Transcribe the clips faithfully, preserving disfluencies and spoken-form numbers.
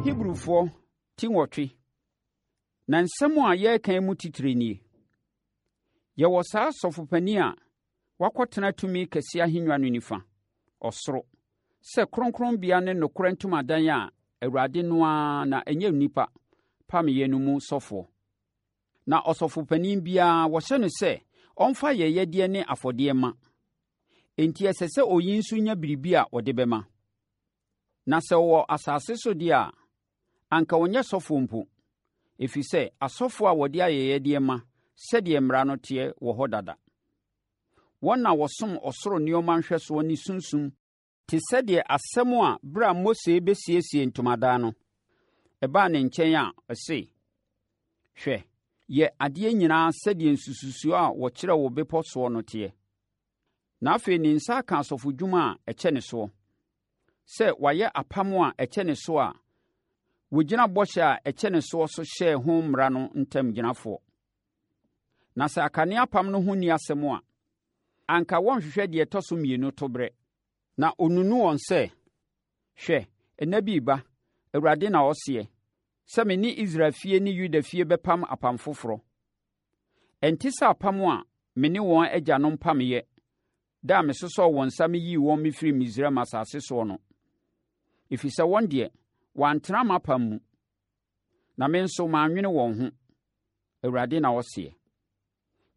Hebrifoɔ ti nwɔtwe. Na nsɛm a yɛreka yi mu titire nie: Yɛwɔ saa sɔfopanin a wakɔtena tumi kɛseɛ ahennwa no nifa, ɔsoro, sɛ kronkronbea ne nokorɛ ntomadan a Awurade no ara na ɛnyɛ onipa, pameeɛ no mu sɔfoɔ. Na ɔsɔfopanin biara, wɔhyɛ no sɛ ɔmfa ayɛyɛdeɛ ne afɔdeɛ mma. Enti ɛsɛ sɛ oyi nso nya biribi a ɔde bɛma. Na sɛ ɔwɔ asase so deɛ a, anka ɔnyɛ sɔfoɔ mpo, ɛfiri sɛ asɔfoɔ a wɔde ayɛyɛdeɛ ma sɛdeɛ mmara no teɛ wɔ hɔ dada. Wɔn na wɔsom ɔsoro nneɛma nhwɛsoɔ ne sunsum te sɛ deɛ asɛm a berɛ a Mose rebɛsiesie ntomadan no, ɛbaa ne nkyɛn a ɔse, Hwɛ, yɛ adeɛ nyinaa sɛdeɛ nsususoɔ a wɔkyerɛɛ wo bepɔ soɔ no teɛ. Na afei ne nsa aka asɔfodwuma a ɛkyɛne soɔ, sɛ wayɛ apam a ɛkyɛne so a wɔgyina bɔhyɛ a ɛkyɛne soɔ so hyɛɛ ho mmara no ntamgyinafoɔ. Na sɛ akane apam no ho nni asɛm a, anka wɔnhwehwɛ deɛ ɛtɔ so mmienu toberɛ. Na ɔnunu wɔn sɛ, Hwɛ, nna bi reba, Awurade na ɔseɛ, sɛ me ne Israel fie ne Yuda fie bɛpam apam foforɔ. Ɛnte sɛ apam a me ne wɔn agyanom pameeɛ da a mesosɔɔ wɔn nsa meyii wɔn mefirii Misraim asase soɔ no, ɛfiri sɛ wɔn deɛ, wɔantena m'apam mu, na me nso mannwene wɔn ho, Awurade na ɔseɛ.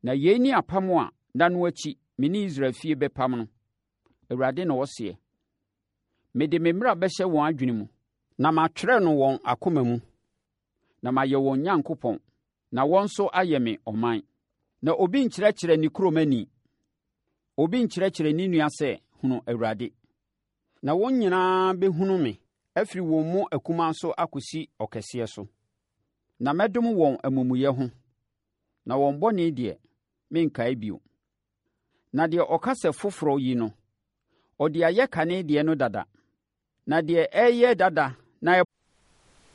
Na yei ne apam a nna no akyi me ne Israel fie bɛpam no, Awurade na ɔseɛ. Mede me mmara bɛhyɛ wɔn adwene mu, na matwerɛ no wɔn akoma mu, na mayɛ wɔn Nyankopɔn, na wɔn nso ayɛ me ɔman. Na obi nkyerɛkyerɛ ne kuromani, obi nkyerɛkyerɛ ne nua sɛ, 'Hunu Awurade.' Na wɔn nyinaa bɛhunu me, afiri wɔn mu akumaa so akɔsi ɔkɛseɛ so. Na mɛdom wɔn amumuyɛ ho, na wɔn bɔne deɛ, merenkae bio. Na deɛ ɔka sɛ foforɔ yi no, ɔde ayɛ kane deɛ no dada. Na deɛ ɛreyɛ dada